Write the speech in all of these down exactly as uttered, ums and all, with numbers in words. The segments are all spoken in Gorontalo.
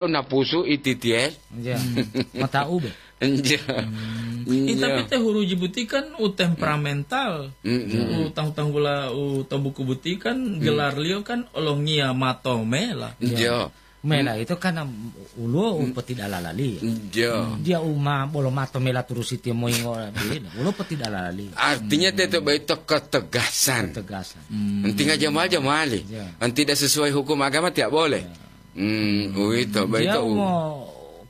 napusu ititiel. Iya. Mata ube. Iya. Hmm. Ih, tapi Iya. Te Huruji boti kan u temperamental. Mm-mm. U tanggu-tanggula u to buku boti kan Mm. gelarliyo kan Olongiya Matomela. Iya. Iya. Mela Mm. itu kan am-, uluwo u Mm. petidalalaliyo. Iya. Dia uma bolo matomela turusi tiyo moyingo beda. Ulo petidalalaliyo. Artinya Hmm. teto baito ketegasan. Ketegasan. Hmm. Enti nggak jamal-jamali. Iya. Enti tidak sesuai hukum agama tidak boleh. Iya. Hmm, uwito, Dia baito u- umo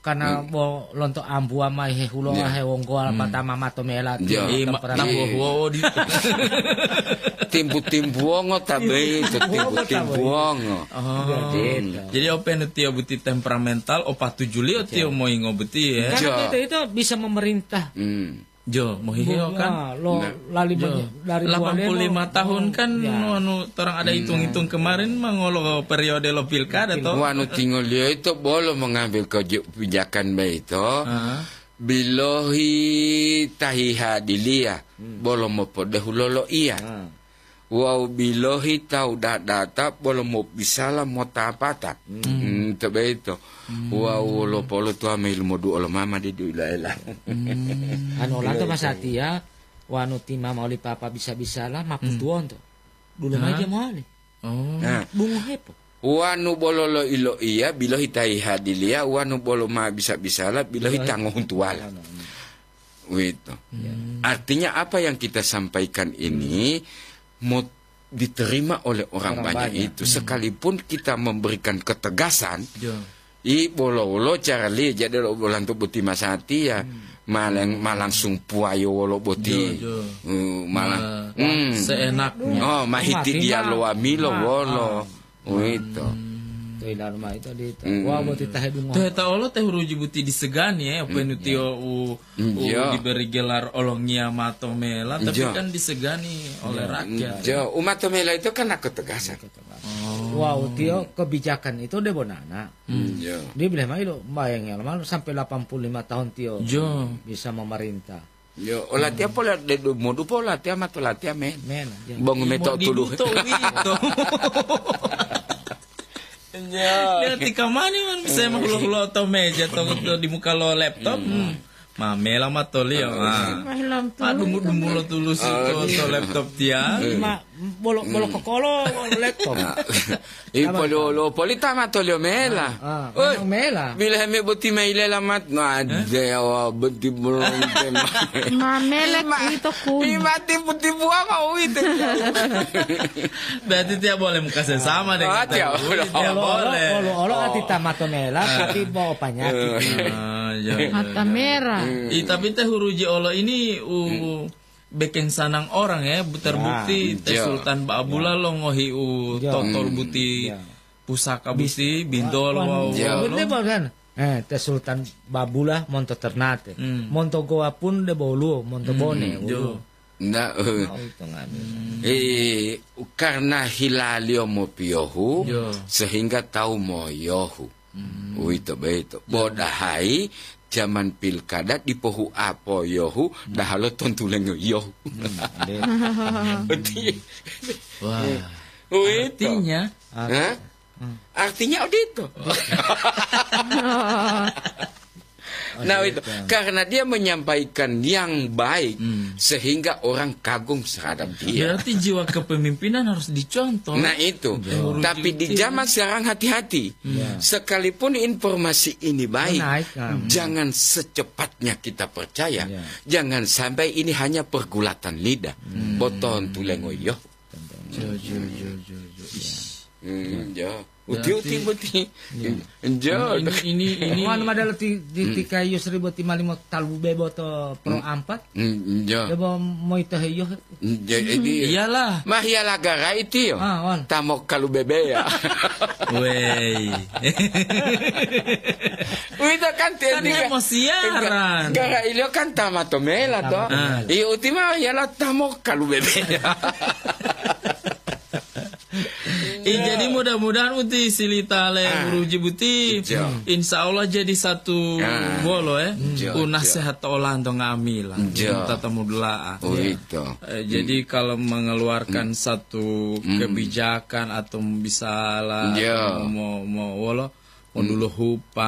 karena Hmm. bo lonto ambuwa ma hehulo Iya. hewonggowa Hmm. patama matomela Iya. tiyo Iya, ma-, temperamental. tambuwa-huwa di- Timbu-timbuwongo ta Timbu-timbuwongo baito, ta baito. timbu-timbuwongo. Oh. Iya, gitu. Jadi openu tiyo boti temperamental, o patujuliyo tiyo Iya. moyingo boti ya. Karena Iya. kita itu bisa memerintah. Hmm. Jo, mohihewo kan? Wah, lo Nah. lali Jo. menye-, dari Lapan puluh lima Bualemo. tahun kan, Ya. anu, torang ada Hmm. hitung-hitung kemarin mangolo periode lo pilkada, Pilkada. toh? Wanu tingoliyo ito bolo mengambil kebijakan baito. Ah. Bilohi tahiha diliya, Hmm. bolo mopodehu lolo iya. Ah. Wawu bilohi tawu dadata bolo mobisala motapata. Hmm. Hmm, to boyito. Hmm. Wawu wolo polo tuwa ma yilumoduo lo mama didu ila-ila. Hmm. Anu olanto Ila-ila. Masatiya, wanu ti mama oli papa bisa-bisala, ma Hmm. putuwonto. Dulo Hah? mayi dia mowali. Oh. Nah. Dungohepo. Wanu bolo loiloiya, bilohi tahiha diliya, wanu bolo ma bisa-bisala, bilohi Bilohi. tangohuntuwala. Wanu, hmm. Wito. Ya. Hmm. Artinya apa yang kita sampaikan ini mau diterima oleh orang Orang banyak banyak. itu. Hmm. Sekalipun kita memberikan ketegasan, Ya. i bolo-bolo carali jadi lo bolanto boti masatiya, Hmm. ma lang-, ma langsung puwayo wolo boti. Ya, ya. Uh, malah, Ma-, hmm. seenaknya. Oh, mahiti Mati dia ma-, loamilo ma-, wolo. ah. Wito. Hmm. To ilalo mayi to dito. Hmm. Wa boti tahe dungo. Toheta olo te Huruji boti disegani, eh, openu Hmm. tiyo u-, Hmm, u-, iya. diberi gelar Olongiya Matomela, tapi Iya. kan disegani oleh Iya. rakyat. Iya, umatomela itu kan ketegasan. Oh. Wow, tiyo kebijakan itu debo nana. Hmm. Iya. Dia bilang mayi lo, bayangin malu sampai delapan puluh lima tahun tiyo Iya. bisa memerintah. Yo, olatiya pola de du-, modu po olatiya ma to latiya men. Men, ya. Bangu Mo meto dibu tulu. to uwito. Ya. Dia tika mani man bisa ma hulo-hulo to meja to, to di muka lo laptop. Hmm. Hmm. Ma mela ma to liyo. Ah. Ah. Ma hilam Ma tulu. dumbu-dumbu lo tulusi Ah, to, iya. to laptop tiya. Ma, bolo, bolo Hmm. kokolo laptop. Nah. Ipololo, polita matolio mela. Ah, ah, Oi, memang mela. Bila heme boti mailela mat, no, ada ya, wa, boti belum tema. Mamele Ima-, itu kun. ima tipu-tipu apa uite? Berarti tiap boleh muka sesama dengan Ah, tiap tiap boleh. boleh, tiap Olo, olo, boleh. olo, olo, Oh. ati tamato mela, Ah. tapi bawa penyakit. Ah, iya, iya, Mata iya. merah. Hmm. Ih, tapi teh huruji olo ini, uh, Hmm. Bekeng sanang orang, ya, bu-, terbukti Nah, te iya. Sultan Ba'abula Iya. longohi u Iya. totol Hmm. buti Iya. pusaka Bis-, buti, bintol wa-, wawu iya. Betul, kan? Eh, te Sultan Babula monto Ternate. Hmm. Monto Goa pun de boluwo, monto Hmm, Bone, iya. uluwo. Nah, eh. Mau itu ngadu. Hmm. Eh, karena hilalio mopiyohu, Iya. sehingga tawu moyohu. Hmm. Uwito boyito. Bo dahayi jaman pilkada dipohuapo yohu, Hmm. dahalo tontulengo yohu. Hmm, nde. Uti-, Wah. Uwito. Artinya? Hah? Hmm. Artinya odito. Oh. Nah, Oke, itu. Bang. Karena dia menyampaikan yang baik, Hmm. sehingga orang kagum terhadap dia. Berarti jiwa kepemimpinan harus dicontoh. Nah, itu. Iya. Tapi di Rujukin. zaman sekarang hati-hati. Hmm. Iya. Sekalipun informasi ini baik, Naik, kan. jangan secepatnya kita percaya. Iya. Jangan sampai ini hanya pergulatan lidah. Hmm. Boton tulengo yo. Contohnya. Jo, jo, jo, jo, jo. Iya. Hmm, jo. Uti-uti Berarti boti. Iya. Jo. Ini, ini, ini, ini. Wanu madalo ti, ti, Hmm. tika Yusri boti malimo talu bebo to pro Hmm. ampat. Hmm, jo. Bebo moito heyo. Hmm, jo, ini. Iyalah. Mahiyala gara itiyo. Ah, wan. Tamo kalu bebe ya. Wei. Uwito kan te Kan dia mau siaran. Gara ilio kan tamato mela to. Tamato mela. Ah. Iyo uti mahiyala tamo kalu bebe ya. Eh, jadi mudah-mudahan uti silita le Ah. Huruji buti. Iya. Insya Allah jadi satu Ah. bolo, eh. Iya, U iya. nasehat olanto nga'amila. Iya. Tata mudula'a. Oh, itu. Eh, jadi Hmm. kalau mengeluarkan Hmm. satu Hmm. kebijakan atau misalnya Iya. atau mau, mau wolo, o dulohupa,